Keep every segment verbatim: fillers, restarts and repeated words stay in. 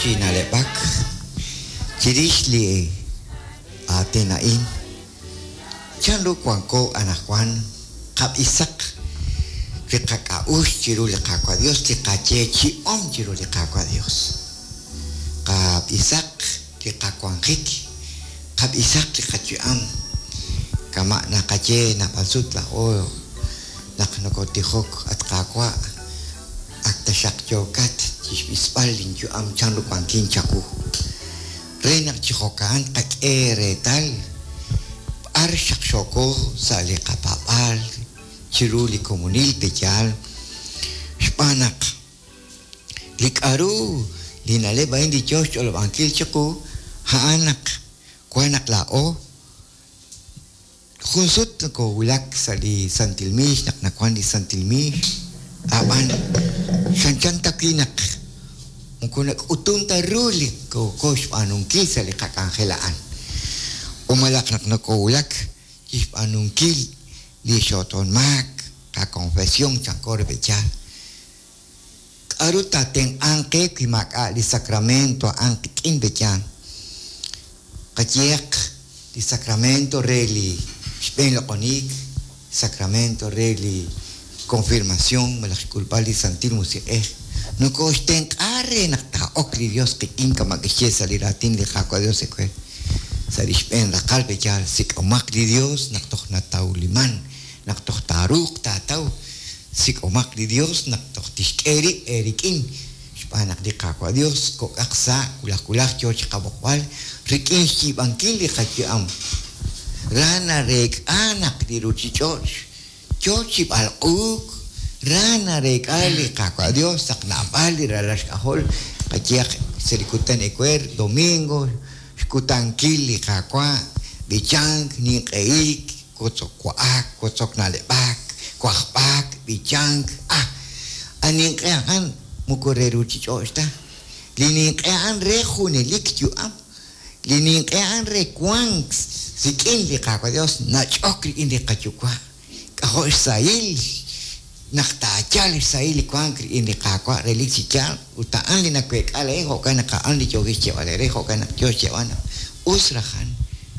chi na'leb'ak chirix li aatin a'in, chanru wanko anaqwan qab'isaq li qak'a'uxl chiru li Qaawa' Dios, li qayeechi'om chiru li Qaawa' Dios. Qab'isaq li qawanjik, qab'isaq li qayu'am, kama' naqaye naab'al sut laa'o naq nokotijok at Qaawa', ak taxaq yookat chixb'isb'al linyu'am chanru wankin chawu. Re naq chi jo'kan qak'e reetal b'ar xaqxooko sa' li qapaab'aal chiru li komonil peyaal, xb'aan naq li k'a'ru li na'leb' a'in li yoo xch'olob'ankil chiqu a'an naq wan naq laa'o jun sut nokowulak sa' li Santil Miix naq nawan li Santil Miix, ab'an chanchan ta wi' naq moko nak'utun ta ru li kooko xb'aanunkil sa' li qak'anjel a'an. Umalaq naq nokowulak chixb'aanunkil li xoton maak, qakonfesión chanko re peyaal. K'a'ru taatenq'anq qe wi maak'a' li sacramento a'an qik'in peyaal. Qayehaq li sacramento re li xb'een loq'oniik, sacramento re li confirmación malaj xk'ulb'al li Santil Musiq'ej. Nokoxtenq'a re naq taa'ok li Dios qik'in kama' kixye sa' li raatin li Qaawa' Dios ewer. Sa' li xb'een raqal peyaal sik'omaq li Dios naq toj natawliman, naq toj taaruuq taataw, sik'omaq li Dios naq toj tixk'e rib' eerik'in, xb'aan naq li Qaawa' Dios kok'aq sa' wulaj wulaj yoo chi qab'oqb'al rik'in xyiib'ankil li qayu'am. Ra nareek'a naq li ruchich'och' yoo chi b'alq'uuk, ra nareek'a li Qaawa' Dios naq naab'al li ralal xk'ajol qayehaq sa' li kutan ewer domingo xkutankil li Qaawa' b'ichank, ninq'ehik, kotzok wa'ak, kotzok na'leb'ak, wajb'ak, b'ichank, ah, a ninq'e a'an moko re ruchich'och' ta. Li ninq'e a'an re junelik yu'am, li ninq'e a'an re wank rik'in li Qaawa' Dios nach'ok rik'in li qayuwa'. K'ajo' xsahil naq taayal xsahil li wank rik'in li Qaawa' relik chi yaal, ut a'an li naweek'a laa'in jo'kan naq a'an li yookin xyeeb'al eere, jo'kan naq yoo xyeeb'al naq us rajan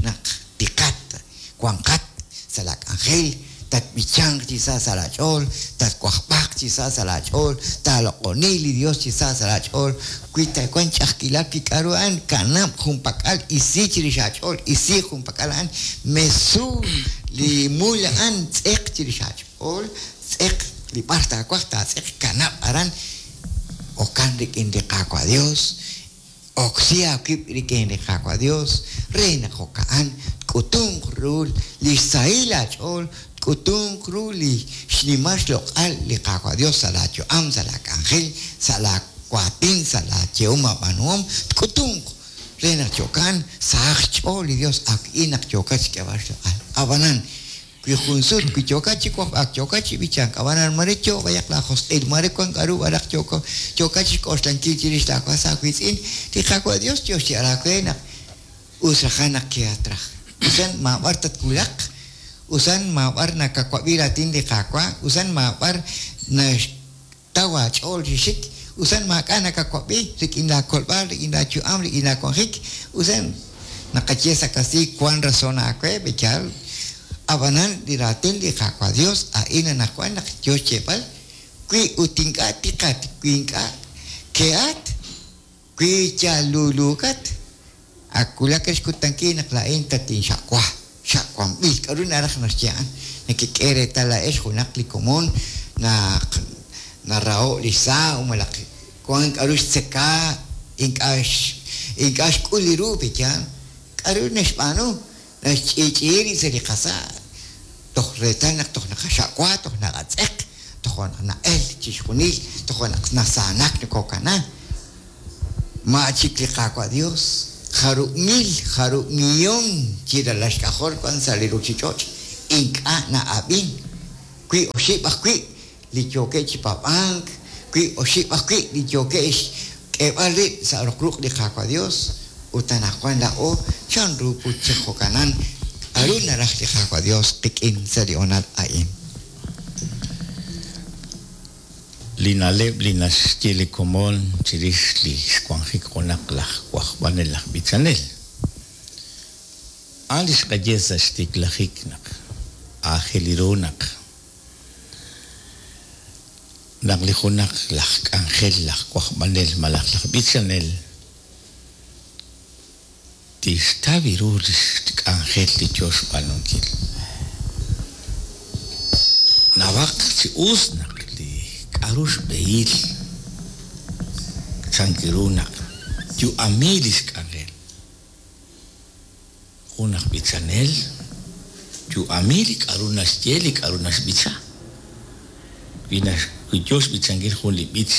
naq tiqat, wanqat sa' la k'anjel, tatb'ichanq chi sa' sa' laach'ool, tatwajb'aq chi sa' sa' laach'ool, taaloq'oni li Dios chi sa' sa' laach'ool, wi tawank ch'a'ajkilal wi k'a'ru a'an kanab' junpak'al isi chirix aach'ool, isi junpak'al a'an, mesu li mul a'an tz'eq chirix aach'ool, tz'eq li b'ar taawaj taatz'eq kanab' aran okan rik'in li Qaawa' Dios, oksi aawib' rik'in li Qaawa' Dios, re naq jo'ka'an k'utunq ru li xsahil aach'ool, k'utunq ru li xnimal xloq'al li Qaawa' Dios sa' laayu'am, sa' laak'anjel, sa' laawaatin, sa' laayehom aab'aanuhom, k'utunq re naq jo'kan sahaq xch'ool li Dios aawik'in naq yookat xk'eeb'al xloq'al. Ab'anan wi jun sut wi yookat chi wajb'ak, yookat chi b'ichank, ab'anan mare yoo b'ayaq laajosq'il, mare wan k'a'ru b'araq yooko yookat chixk'oxlankil chirix laawas aawiitz'in, li Qaawa' Dios yoo xyeeb'al aawe naq us rajan naq keatraj. Usan maab'ar tatwulaq, usan maab'ar nakawab'i raatin li Qaawa', usan maab'ar naxtaw aach'ool chi xik, usan maak'a' nakawab'i rik'in laakolb'al, rik'in laayu'am, rik'in laawanjik, usan naqaye sa' kastiiy wan razón aawe b'eyaal. Ab'anan li raatin li Qaawa' Dios a'in anaqwan naq yoo xyeeb'al wi ut ink'a' tiqat, wi ink'a' ke'at, wi yaluluukat, ak wulak xkutankil naq laa'in tatinxaqwa, xaqwanb'il. K'a'ru naraj naxye a'an? Nakek'e reetal laa'ex junaq li komon naq naraho' li xsa' malaj wan k'a'ru xtzeka, ink'a' ink'a' xk'ul li ru peyaal. K'a'ru naxb'aanu? Naxch'i'ch'i'i rib' sa' li qasa', toj reetal naq toj naqaxaqwa, toj naqatz'eq, toj na'el chixjunil, toj naq nasaanak nokokana. Ma chik li Qaawa' Dios, jarub' mil, jarub' millón chi ralal xk'ajol wan sa' li ruchich'och', ink'a' na'ab'in. Wi oxib' ajwi' li yookeb' chi paab'ank, wi oxib' ajwi' li yookeb' xk'eeb'al rib' sa' roq ruq' li Qaawa' Dios, ut anaqwan laa'o chanru put chi jo'kanan k'a'ru naraj li Qaawa' Dios qik'in sa' li honal a'in. Li na'leb' li naxye li komon chirix li xwanjik junaq laj wajb'anel laj b'ichanel. A'an li xqaye sa' xtiklajik naq aajel ru naq naq li junaq laj k'anjel laj wajb'anel malaj laj b'ichanel tixtaw ru li xk'anjel li yo xb'aanunkil. Nawaq chi us naq li k'aru xb'ehil chank ru naq yu'ami li xk'anjel. Jun aj b'ichanel yu'ami li k'aru naxye li k'aru naxb'icha. Wi nax wi yo xb'ichankil jun li b'ich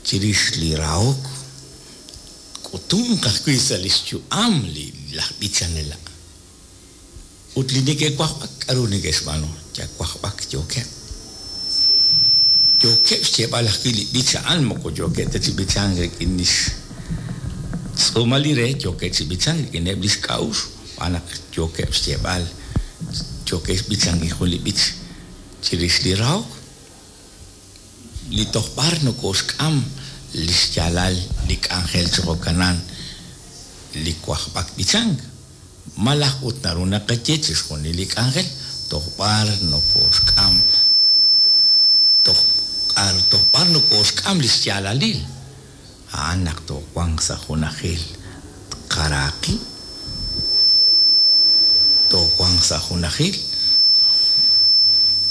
chirix li rahok k'utunq ajwi' sa' li xyu'am li laj b'ichanel. Ut li neke'wajb'ak k'aru neke'xb'aanu yawajb'ak yookeb'. Yookeb' xyeeb'al ajwi' li b'ich a'an moko yookeb' ta chi b'ichank rik'in li xtz'uumal li re yookeb' chi b'ichank rik'ineb' li xk'a'uxl xb'aan naq yookeb' xyeeb'al yookeb' xb'ichankil jun li b'ich chirix li rahok. Li toj b'ar nokoxk'am li xyaalal li k'anjel chi jo'kanan li wajb'ak b'ichank. Malaj ut naru naqaye chixjunil li k'anjel toj b'ar nokoxk'am toj k'ar toj b'ar nokoxk'am li xyaalalil. A'an naq toowanq sa' junajil tqaraaqi toowanq sa' junajil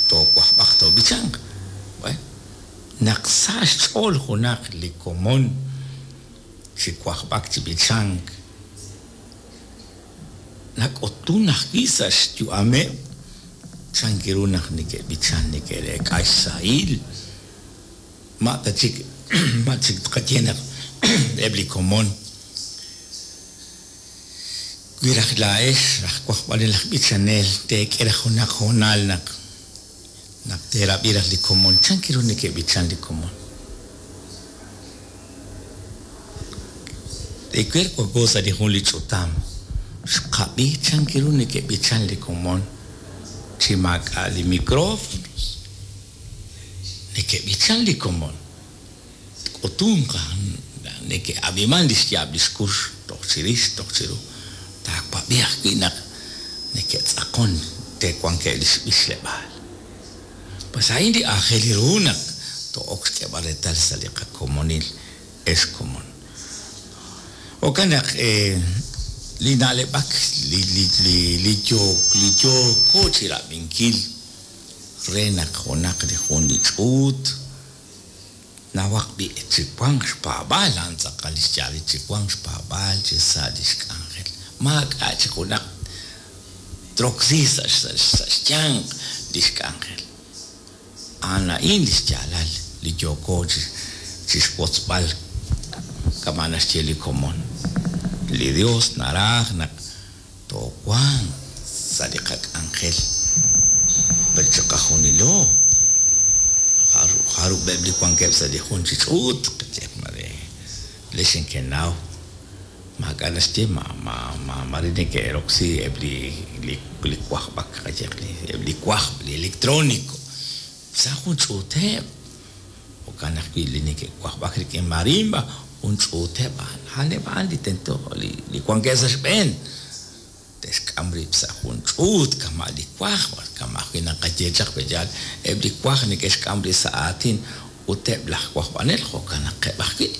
toowajb'aq toob'ichanq. Bueno, naq sa' xch'ool junaq li komon chi wajb'ak chi b'ichank nak'utun ajwi' sa' xyu'ameb' chank ru naq neke'b'ichan neke'reek'a xsahil. Ma ta chik ma chik tqaye naq eb' li komon wi raj laa'ex raj wajb'anel laj b'ichanel teek'e raj junaq hoonal naq naq teerab'i raj li komon chank ru neke'b'ichan li komon. Ewer wanko sa' li jun li ch'utam xqab'i chank ru neke'b'ichan li komon chi maak'a' li micrófonos. Neke'b'ichan li komon k'utunq neke'ab'iman li xyaab' li xkux toj chirix toj chiru taawab'i ajwi' naq neke'tz'aqon te'wankeb' li xb'ichleb'aal. Pues a'in li aajel ru naq to'ok xk'eeb'al reetal sa' li qakomonil ex komon. Jo'kan naq li na'leb'ak li li li li yo li yooko chi rab'inkil re naq junaq li jun li ch'uut nawaq b'i chi wanq xpaab'aal a'an tz'aqal li xyaal chi wanq xpaab'aal chi sa' li xk'anjel. Maak'a' chi junaq troksi sa' sa' xyanq li xk'anjel. A'an a'in li xyaalal li yooko chi chi xwotzb'al kama' naxye li komon. Li Dios naraj naq toowanq sa' li qak'anjel per chiqajunilo jarub'eb' li wankeb' sa' li jun chi ch'uut qayehaq mare lex inkenaw maak'a' naxye ma ma ma mare neke'roksi eb' li li li wajb'ak qayehaq li eb' li wajb' li electrónico sa' jun ch'uuteb'. Jo'kan ajwi' li neke'wajb'ak rik'in marimba jun ch'uuteb' a'aneb' a'an li tento li li wankeb' sa' xb'een te'xk'am rib' sa' jun ch'uut kama' li wajb' kama' ajwi' naqaye chaq pe'yaal eb' li waj neke'xk'am rib' sa' aatin ut eb' laj wajb'anel jo'kan naqeb' ajwi'.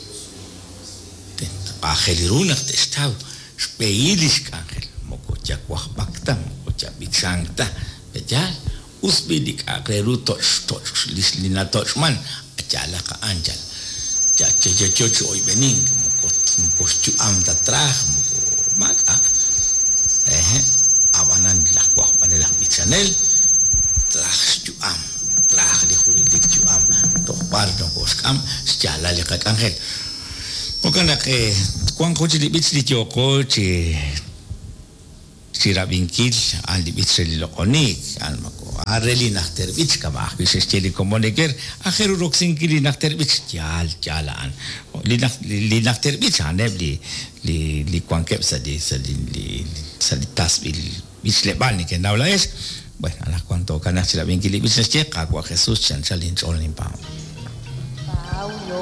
Aajel ru naq te'xtaw xb'ehil li xk'anjel moko yawajb'ak ta moko yab'ichank ta pe'yaal us b'i li k'a'aq re ru toch' toch' li natoch'man yaalaq a'an yal ya ya yo chi oyb'enink moko moko xyu'am ta traj moko maak'a'. Eje ab'anan laj wajb'anel laj b'ichanel traj xyu'am traj li junelik yu'am toj b'ar nokoxk'am xyaalal li qak'anjel. Jo'kan naq wank jun chi li b'ich li yooko chi chi rab'inkil a'an li b'ich re li loq'onik a'an moko a'an re li najter b'ich kama' ajwi' xe'xye li komon eker aajel ru roksinkil li najter b'ich yaal yaal a'an li li najter b'ich a'aneb' li li li wankeb' sa' li sa' li li sa' li tasb'il b'ichleb'aal neke'naw laa'ex Bueno, anaqwan tookanaq chi rab'inkil li b'ich naxye Qaawa' Jesus chi anchal inch'ool ninpaab'.